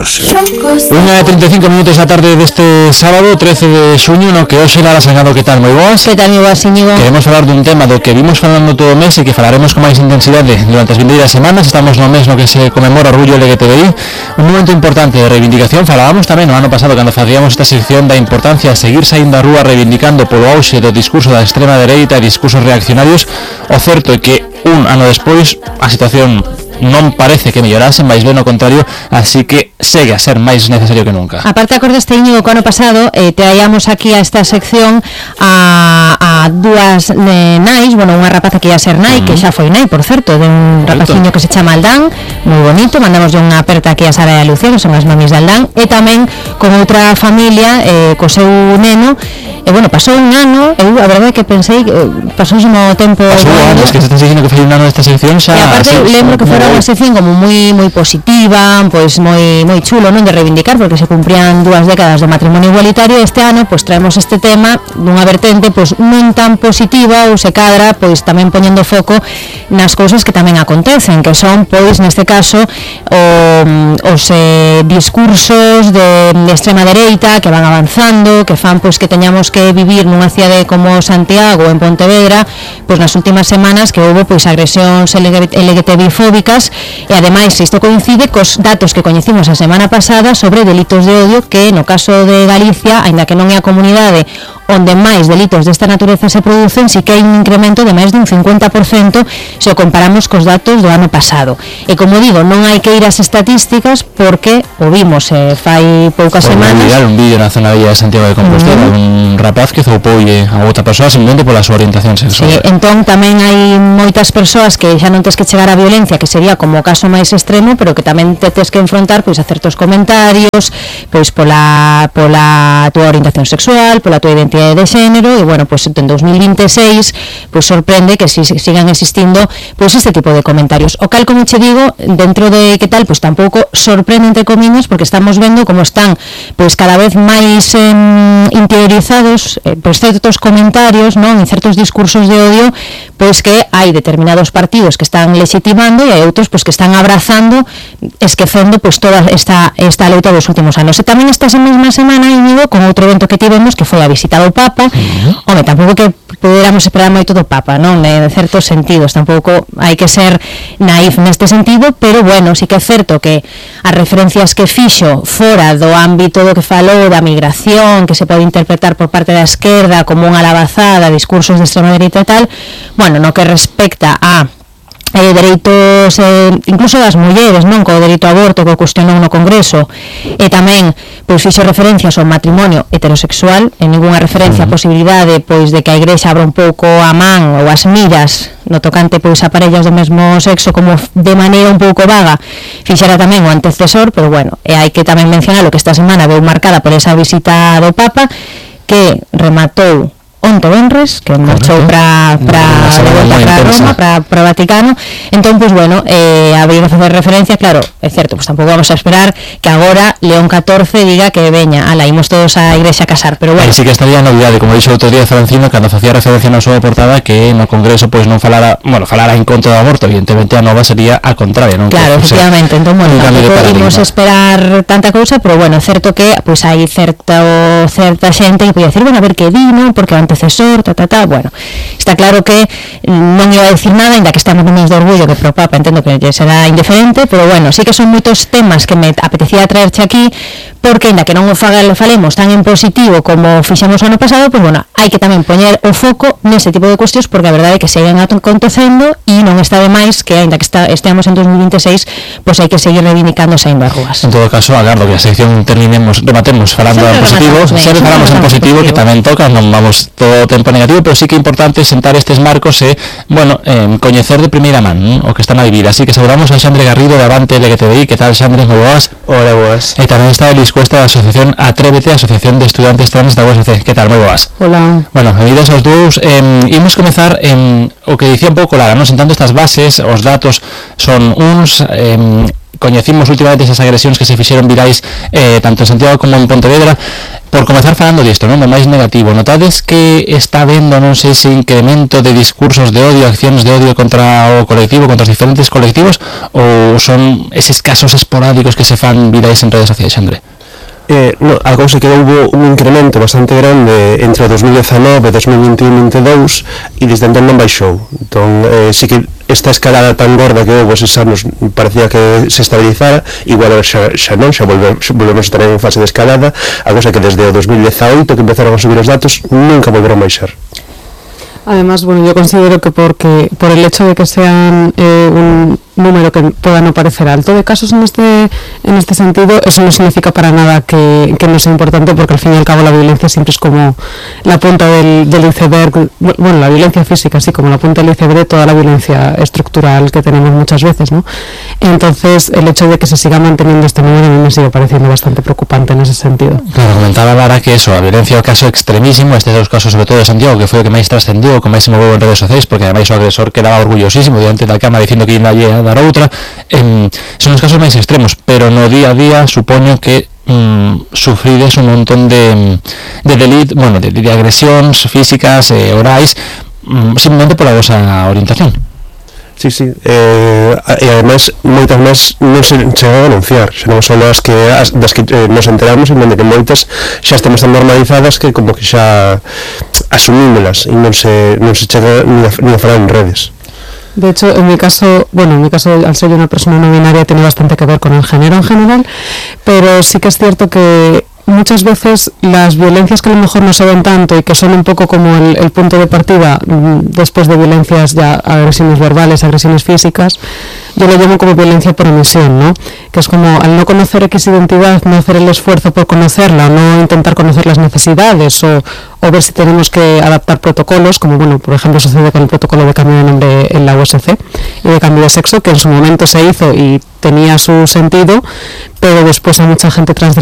1:35 minutos da tarde deste sábado 13 de xuño, no que hoxe Lara Sangado. Que tal, moi boas? Que tal, moi boas, Íñigo? Queremos falar dun tema do que vimos falando todo o mes e que falaremos con máis intensidade durante as vindeiras semanas. Estamos no mes no que se conmemora o orgullo LGTBI, un momento importante de reivindicación. Falábamos tamén no ano pasado, cando facíamos esta sección, da importancia de seguir saindo á rúa reivindicando polo auxe do discurso da extrema dereita e discursos reaccionarios. O certo é que un ano despois a situación non parece que mellorase, máis ben ao contrario, así que segue a ser máis necesario que nunca. Aparte, acordaste, Íñigo, que ano pasado traíamos aquí a esta sección a dúas nais, bueno, unha rapaza que ia ser nai, que xa foi nai, por certo, de un rapaciño que se chama Aldán, moi bonito, mandamos unha aperta aquí a Sara e a Lucía, que son as mamis de Aldán, e tamén con outra familia, co seu neno. E bueno, pasou un ano, eu a verdade que pensei que pasousimo tempo. Pasou anos, que se estás dicindo que foi un ano desta sección xa. E aparte lembro que fora unha sección como moi positiva, pois moi chulo, non, de reivindicar, porque se cumprían 2 décadas do matrimonio igualitario. Este ano pois traemos este tema dunha vertente pois non tan positiva, ou se cadra pois tamén poñendo foco nas cousas que tamén acontecen, que son pois neste caso os discursos de extrema dereita que van avanzando, que fan pois que teñamos que vivir nunha cidade como Santiago, en Pontevedra, pois nas últimas semanas que houve pois agresións LGTBI fóbicas. E ademais isto coincide cos datos que coñecimos a semana pasada sobre delitos de odio, que no caso de Galicia, aínda que non é a comunidade onde máis delitos desta natureza se producen, si que hai un incremento de máis dun 50% se o comparamos cos datos do ano pasado. E como digo, non hai que ir ás estatísticas, porque o vimos fai poucas semanas. Por un vídeo na zona villa de Santiago de Compostela, un rapaz que zoupoulle a outra persoa simplemente pola súa orientación sexual. Sí, entón tamén hai moitas persoas que xa non tes que chegar á violencia, que sería como o caso máis extremo, pero que tamén te tes que enfrontar pois a certos comentarios, pois pola túa orientación sexual, pola túa identidade de xénero. E bueno, pois en 2026 pois sorprende que sigan existindo pois este tipo de comentarios, o cal, como che digo, dentro de que tal, pois tampouco sorprende entre comillas, porque estamos vendo como están pois cada vez máis interiorizados pois certos comentarios, non, en certos discursos de odio, pois que hai determinados partidos que están legitimando e hai outros pois que están abrazando, esquecendo pois toda esta loita dos últimos anos. E tamén esta mesma semana, Íñigo, con outro evento que tivemos, que foi a visita do Papa. Home, tampouco que poderamos esperar moito do Papa, non? En certos sentidos, tampouco hai que ser naif neste sentido, pero bueno, sí que é certo que as referencias que fixo fora do ámbito do que falou da migración, que se pode interpretar por parte da esquerda como unha alabazada, discursos de extrema dereita e tal, bueno, no que respecta a dereitos incluso das mulleres, non, co dereito ao aborto que o cuestionou no Congreso, e tamén pois fixo referencias ao matrimonio heterosexual, en ninguna referencia a posibilidade pois de que a Igrexa abra un pouco a man ou as miras no tocante pois a parellas do mesmo sexo, como de maneira un pouco vaga fixera tamén o antecesor. Pero bueno, e hai que tamén mencionar o que esta semana veu marcada por esa visita do Papa, que rematou onto venres, que marchou para Roma, para Vaticano. Entón, pois bueno, habría que facer referencia, claro, é certo, pois tampouco vamos a esperar que agora León XIV diga que veña, ala, imos todos á igrexa a casar, pero bueno. Sí que estaría a novidade, como dixo outro día Francino, cando facía referencia na súa portada, que no Congreso pois non falara en contra do aborto. Evidentemente a nova sería a contraria, non? Claro, efectivamente, entón, bueno, tampouco imos esperar tanta cousa, pero bueno, é certo que pois hai certa xente que pode decir, bueno, a ver que di, non? Porque antecesor, bueno, está claro que non iba a decir nada, ainda que estamos no mes de orgullo, que pro Papa entendo que será indiferente, pero bueno, sí que son moitos temas que me apetecía traerche aquí, porque ainda que non o falemos tan en positivo como fixemos o ano pasado, pois bueno, hai que tamén poñer o foco nese tipo de cuestións, porque a verdade é que seguen acontecendo e non está de máis que ainda que esteamos en 2026, pois hai que seguir reivindicando saindo as rúas. En todo caso, agardo que a sección rematemos falando en positivo, sempre falamos en positivo, que tamén toca, non vamos todo o tempo negativo, pero sí que é importante sentar estes marcos e, bueno, coñecer de primeira man o que están a vivir. Así que saudamos a Xandre Garrido de Avante LGTBI. Que tal, Xandre? Moi boas. Hola, boas. E tamén está Elis Cuesta da Asociación Atrévete, Asociación de Estudantes Trans da USC. Que tal? Moi boas. Hola. Bueno, benvidos aos dous. Imos comezar o que dicía un pouco Lara, non? Sentando estas bases, os datos son uns coñecimos últimamente esas agresións que se fixeron virais tanto en Santiago como en Pontevedra. Por comezar falando disto, non? Do máis negativo, notades que está vendo, non sei se incremento de discursos de odio, accións de odio contra o colectivo, contra os diferentes colectivos, ou son eses casos esporádicos que se fan virais en redes sociais, Xandre? No, a cousa que houve un incremento bastante grande entre 2019 e 2021-22 e desde entón non baixou. Entón, sí que esta escalada tan gorda que houve eses anos parecía que se estabilizara, igual xa non, xa volvemos a tener en fase de escalada, a cousa que desde o 2018 que empezaron a subir os datos nunca volveron a baixar. Además, bueno, yo considero que por el hecho de que sean un número que pueda no parecer alto de casos en este sentido, eso no significa para nada que no sea importante, porque al fin y al cabo la violencia siempre es como la punta del iceberg, bueno, la violencia física, así como la punta del iceberg de toda la violencia estructural que tenemos muchas veces, ¿no? Entonces, el hecho de que se siga manteniendo este número a mí me sigue pareciendo bastante preocupante en ese sentido. Claro, comentaba Lara que eso, a violencia é o caso extremísimo, estes dos casos sobre todo de Santiago, que foi o que máis trascendiu, o que máis se moveu en redes sociais, porque ademais o agresor quedaba orgullosísimo diante da cama dicindo que iba a dar outra. Son os casos máis extremos, pero no día a día supoño que sufrides un montón de agresións físicas, orais, simplemente pola vosa orientación. Sí, e ademais moitas máis non se chega a denunciar, xa non son das que nos enteramos, sino de que moitas xa estamos tan normalizadas que como que xa asumímolas e non se chega ni a falar en redes. De hecho, en mi caso, al ser yo una persona no binaria, tiene bastante que ver con el género en general, pero sí que es cierto que muchas veces las violencias que a lo mejor no se ven tanto y que son un poco como el punto de partida después de violencias ya, agresiones verbales, agresiones físicas, yo lo llamo como violencia por omisión, ¿no? Que es como al no conocer X identidad, no hacer el esfuerzo por conocerla, no intentar conocer las necesidades o ver si tenemos que adaptar protocolos, como bueno, por ejemplo sucede con el protocolo de cambio de nombre en la USC y de cambio de sexo, que en su momento se hizo y tenía su sentido, pero después hay mucha gente trans de